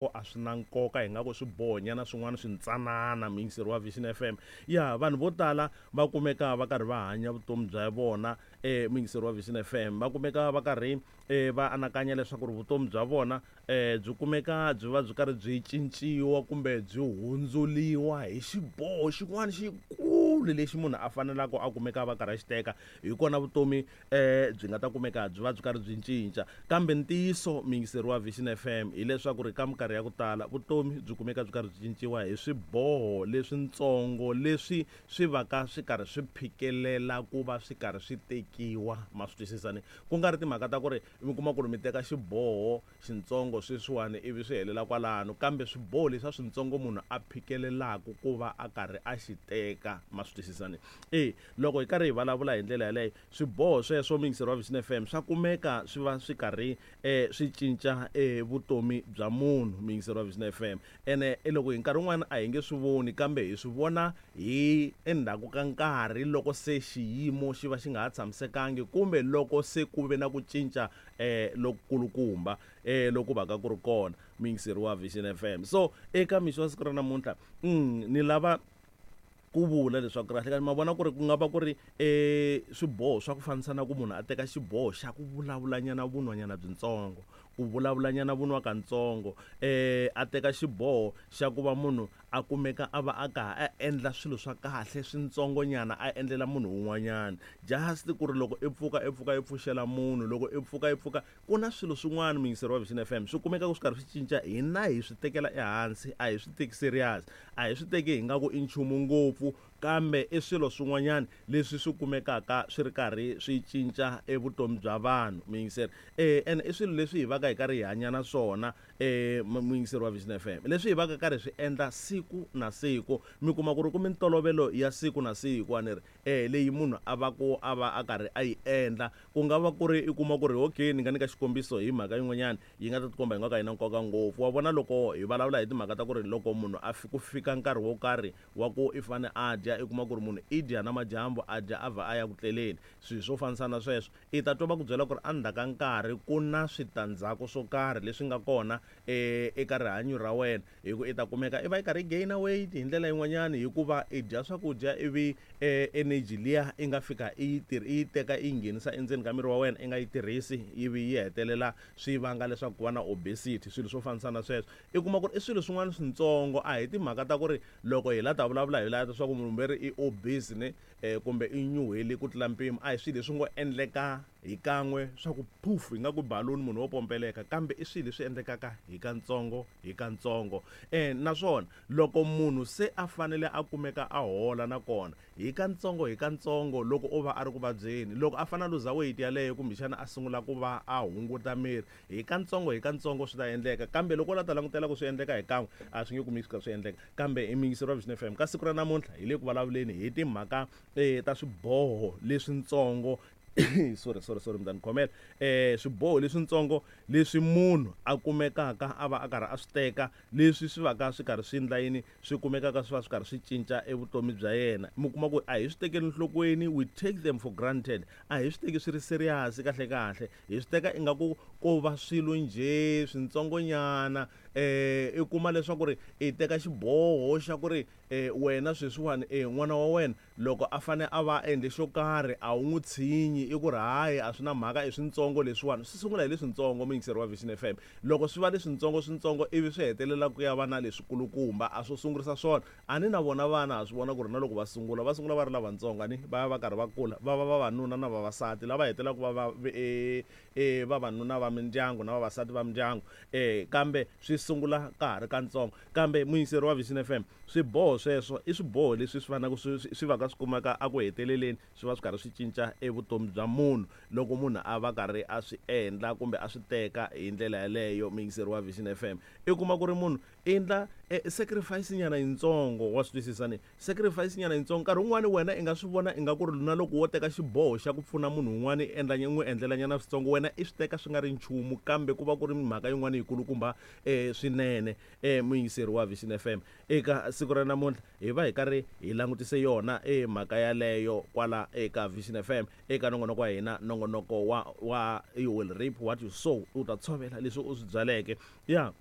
A swi na nkoka hi nga ku swibohonyana swin'wana swintsanana muyingiseri wa Vision FM. Ya vanhu vo tala va kumeka va karhi va hanya vutomi bya vona muyingiseri wa Vision FM, va kumeka va karhi va anakanya leswaku ri vutomi bya vona byi kumeka byi va byi karhi byi cinciwa kumbe byi hundzuriwa hi xiboho xin'wana xikulu lexi munhu a faneleke a kumeka a va karhi a xi teka. Hi kona vutomi byi nga ta kumeka byi va byi karhi byi cinca. Kambe ntiyiso muyingiseri wa Vision FM hileswaku ri ka minkarhi ya ku tala vutomi byi kumeka byi karhi byi cinciwa hi swiboho leswintsongo leswi swi va ka swi karhi swi phikelela ku va swi karhi swi tekiwa. Ma swi twisisa ni? Ku nga ri timhaka ta ku ri mi kuma ku ri mi teka xiboho xintsongo sweswiwani ivi swi helela kwalano, kambe swiboho leswiya swintsongo munhu a phikelelaka ku va a karhi a xi teka. Ma swi twisisa ni? E loko hi karhi hi vulavula hi ndlela yaleyo, swiboho sweswo muyingiseri wa Vision FM swa kumeka swi va swi karhi swi cinca vutomi bya munhu muyingiseri wa Vision FM. Ene loko hi nkarhi wun'wana a hi nge swi voni kambe hi swi vona hi endzhaku ka nkarhi loko se xiyimo xi va xi nga ha tshamisekangi kumbe loko se ku ve na ku cinca lokukulukumba loku va ka ku ri kona muyingiseri wa Vision FM. So eka mixo wa siku ra namuntlha ni lava ku vula leswaku kahle kahle ma vona ku ri ku nga va ku ri swiboho swa ku fanisa na ku munhu a teka xiboho xa ku vulavulanyana vunwanyana byintsongo, ku vulavulanyana vunwa kantsongo, a teka xiboho xa ku va munhu a kumeka a va a ka a endla swilo swa kahle swintsongonyana a endlela munhu un'wanyana. Just ku ri loko i pfuka i pfuka i pfuxela munhu, loko i pfuka i pfuka ku na swilo swin'wana muyingiseri wa Vision FM swi kumekaka swi karhi swi cinca hina hi swi tekela ehansi a hi swi teki serious, a hi swi teki hi nga ku i nchumu ngopfu kambe i swilo swin'wanyana leswi swi kumekaka swi ri karhi swi cinca evutomi bya vanhu muyingiseri. Ene i swilo leswi hi va ka hi karhi hi hanya na swona muyingiseri wa Vision FM, leswi hi va ka karhi swi endla siku na siku. Mi kuma ku ri ku mintolovelo ya siku na siku a ni ri leyi munhu a va ku a va a karhi a yi endla. Ku nga va ku ri i kuma ku ri okay ni nga nyika xikombiso hi mhaka yin'wanyana yi nga ta tikomba yi nga ka yi na nkoka ngopfu. Wa vona loko hi vulavula hi timhaka ta ku ri loko munhu a ku fika nkarhi wo karhi wa ku i fane a dya i kuma ku ri munhu i dya namadyambu a dya a vha a ya ku tleleni, swilo swo fanisana na sweswo. I ta twa va ku byela ku ri endzhaku ka nkarhi ku na switandzhaku swo karhi leswi nga kona eka rihanyo ra wena hi ku i ta kumeka i va i karhi i gain-a weight hi ndlela yin'wanyani hikuva i dya swakudya ivi energy liya i nga fika i yi i yi teka i yi nghenisa endzeni ka miri wa wena i nga yi tirhisi ivi yi hetelela swi vanga leswaku ku va na obesity, swilo swo fanisana na sweswo. I kuma ku ri i swilo swin'wana swintsongo a hi timhaka ta ku ri loko hi la ta vulavula hi la swa ku munhu ve ri i obese ne kumbe i nyuhele ku tlula mpimo a hi swilo leswi ngo endleka hi kan'we swa ku poof hi nga ku balloon munhu wo pompeleka kambe i swilo leswi endlekaka hi kantsongo hi kantsongo. Naswona loko munhu se a fanele a kumeka a hola nakona hi kantsongo hi kantsongo loko o va a ri ku vabyeni, loko a fanele a luza weight yaleyo kumbexana a sungula ku va a hunguta miri hi kantsongo hi kantsongo swi ta endleka. Kambe loko u la ta langutela ku swi endleka hi kan'we a swi nge kumeki swi kha swi endleka. Kambe i muyingiseri wa Vision FM ka siku ra namuntlha hi le ku vulavuleni hi timhaka ta swiboho leswintsongo sorry sorry sorry mi ta ni khomela swiboho leswintsongo leswi munhu a kumekaka a va a karhi a swi teka leswi swi va ka swi karhi swi endla yini swi kumekaka swi va swi karhi swi cinca evutomi bya yena. Mi kuma ku a hi swi tekeli enhlokweni, we take them for granted, a hi swi teki swi ri serious kahle kahle, hi swi teka ingaku ko va swilo njhe swintsongonyana. I kuma leswaku ri i teka xiboho xa ku ri wena sweswiwani n'wana wa wena loko a fane a va a endle xo karhi a wu n'wi tshinyi i ku ri hayi a swi na mhaka i swintsongo leswiwani. Swi sungula hi leswintsongo muyingiseri wa Vision FM, loko swi va leswintsongo swintsongo ivi swi hetelela ku ya va na leswikulukumba a swo sungurisa swona. A ni na vona vana ha swi vona ku ri na loko va sungula va sungula va ri lavatsongo a ni va ya va karhi va kula va va vavanuna na vavasati lava hetelelaka va va vavanuna va mindyangu na vavasati va mindyangu kambe swi sungula ka ha ri kantsongo. Kambe muyingiseri wa Vision FM swiboho sweswo i swiboho leswi swi fanaka swi swi va ka swi kumeka eku heteleleni swi va swi karhi swi cinca evutomi bya munhu loko munhu a va karhi a swi endla kumbe a swi teka hi ndlela yaleyo. Muyingiseri wa Vision FM i kuma ku ri munhu endla sacrifice nyana yintsongo wa swi twisisa ni sacrifice nyana yintsongo. Nkarhi wun'wani wena i nga swi vona ingaku ri na loko wo teka xiboho xa ku pfuna munhu un'wana i endla n'wi endlela nyana switsongo wena i swi teka swi nga ri nchumu kambe ku va ku ri mhaka yin'wana yikulukumba swinene. Muyingiseri wa Vision FM eka siku ra namuntlha hi va hi karhi hi langutise yona mhaka yaleyo kwala eka Vision FM eka nongonoko wa hina, nongonoko wa you will reap what you sow, u ta tshovela leswi u swi byaleke ya.